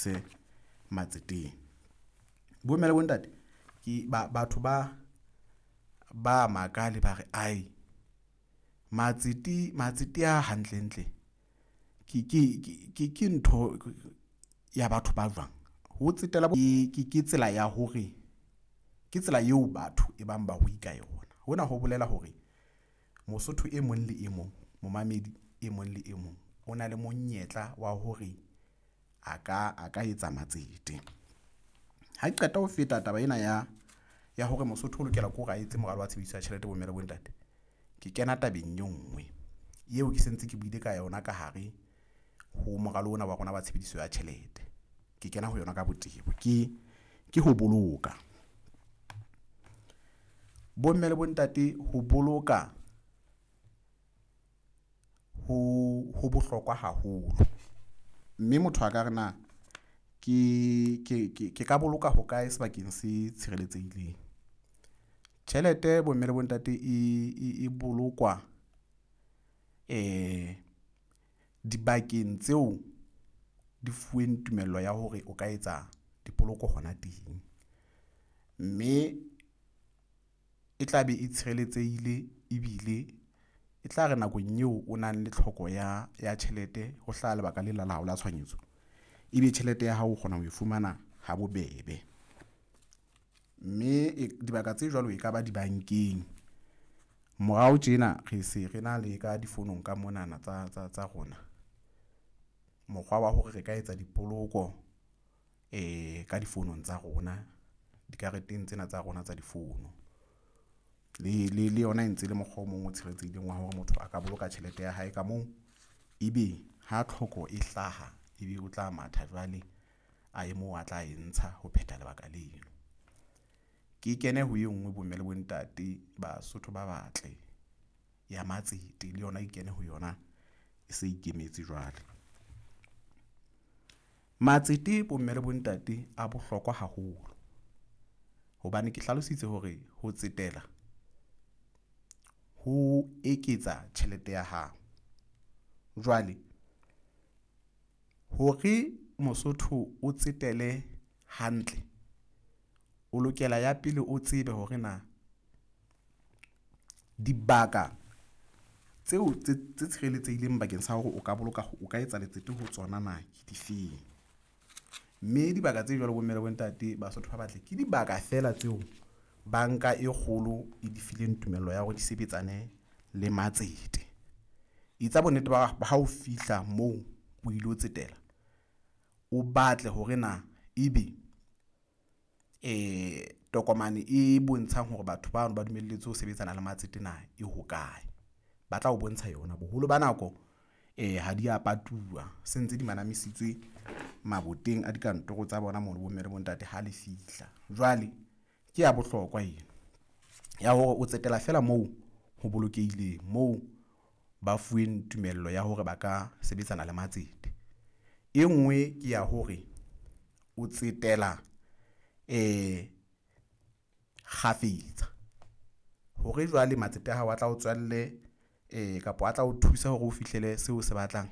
sebedise matseteng. Bomme le bontate ke batho ba makale ba re ae matsete a hantlentle ke ntho ya batho ba jwang ho tsetela ke tsela ya hore ke tsela eo batho e bang barui ka yona. Hona ho bolela hore Mosotho e mong le e mong, momamedi e mong le e mong o na le monyetla wa hore a ka etsa matsete. Ha ke qeta ho feta taba ena ya hore Mosotho o lokela ke hore a etse moralo wa tshebediso ya tjhelete bomme le bontate, ke kena tabeng e nngwe eo ke sentse ke buile ka yona ka hare ho moralo ona wa rona wa tshebediso ya tjhelete. Ke kena ho yona ka botebo, ke ho boloka. Bomme le bontate, ho boloka ho bohlokwa haholo, mme motho a ka re na ke ka boloka hokae sebakeng se tshireletsehileng? Tjhelete bomme le bontate e bolokwa dibakeng tseo di fuweng tumello ya hore o ka etsa dipoloko hona teng, mme e tla be e tshireletsehile ebile e tla re nakong eo o nang le tlhoko ya tjhelete ho hlaha lebaka le la hao la tshohanyetso, ebe tjhelete ya hao o kgona ho e fumana ha bobebe. Mme dibaka tse jwalo e ka ba dibankeng. Morao tjena re se re na le ka difonong ka monana tsa rona mokgwa wa hore re ka etsa dipoloko ka difonong tsa rona, dikareteng tsena tsa rona tsa difono. Le yona e ntse le mokgwa o mong o tshireletsehileng wa hore motho a ka boloka tjhelete ya hae ka moo, ebe ha tlhoko e hlaha ebe o tla matha jwale a ye moo a tla e ntsha ho phetha lebaka leno. Ke kene ho e nngwe bomme le bontate, Basotho ba batle, ya matsete le yona e kene ho yona e se ikemetse jwale. Matsete bomme le bontate a bohlokwa haholo hobane ke hlalositse hore ho tsetela ho eketsa tjhelete ya hao. Jwale hore Mosotho o tsetele hantle, o lokela ya pele o tsebe hore na dibaka tseo tse tshireletsehileng bakeng sa hore o ka boloka, o ka etsa letsete ho tsona na ke difeng, mme dibaka tse jwalo bomme le bontate, Basotho ba batle, ke dibaka feela tseo banka e kgolo e di fileng tumello ya hore di sebetsane le matsete. Etsa bonnete ba ha o fihla moo o ilo tsetela, o batle hore na ebe tokomane e bontshang hore batho bano ba dumelletswe ho sebetsana le matsete na e hokae. Ba tla o bontsha yona. Boholo ba nako ha di a patuwa, se ntse di manamisitswe maboteng a dikantoro tsa bona mono bomme le bontate ha le fihla. Jwale ke ya bohlokwa eno ya hore o tsetela feela moo ho bolokehileng, moo ba fuweng tumello ya hore ba ka sebetsana le matsete. E nngwe ke ya hore o tsetela kgafetsa hore jwale matsete a hao a tla o tswalle kapa a tla o thusa hore o fihlele seo o se batlang,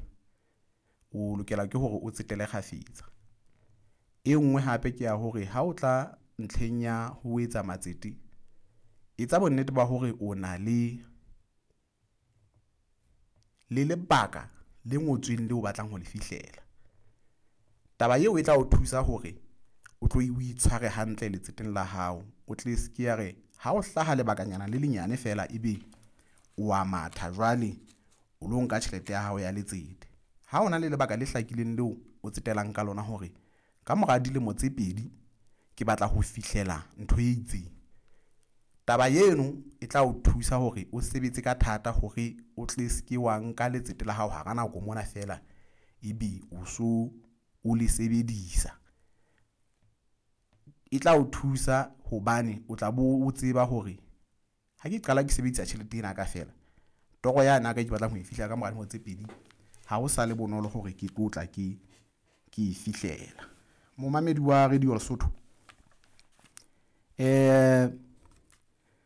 o lokela ke hore o tsetele kgafetsa. E nngwe hape ke ya hore ha o tla ntlheng ya ho etsa matsete, etsa bonnete ba hore o na le lebaka le ngotsweng leo o batlang ho le fihlela. Taba eo e tla o thusa hore o tlo o itshware hantle letseteng la hao, o tle se ke ya re ha o hlaha lebakanyana le lenyane feela ebe o a matha jwale o lo nka tjhelete ya hao ya letsete. Ha o na le lebaka le hlakileng leo o tsetelang ka lona hore ka mora dilemo tse pedi ke batla ho fihlela ntho e itseng, taba eno e tla o thusa hore o sebetse ka thata hore o tle se ke wa nka letsete la hao hara nako mona feela ebe o so o le sebedisa. E tla o thusa hobane o tla bo o tseba hore ha ke qala ke sebedisa tjhelete ena ka feela, toro yane ya ka ke batlang ho e fihlela ka mora dilemo tse pedi ha ho sa le bonolo hore ke tlo tla ke e fihlela. Momamedi wa Radio Lesotho,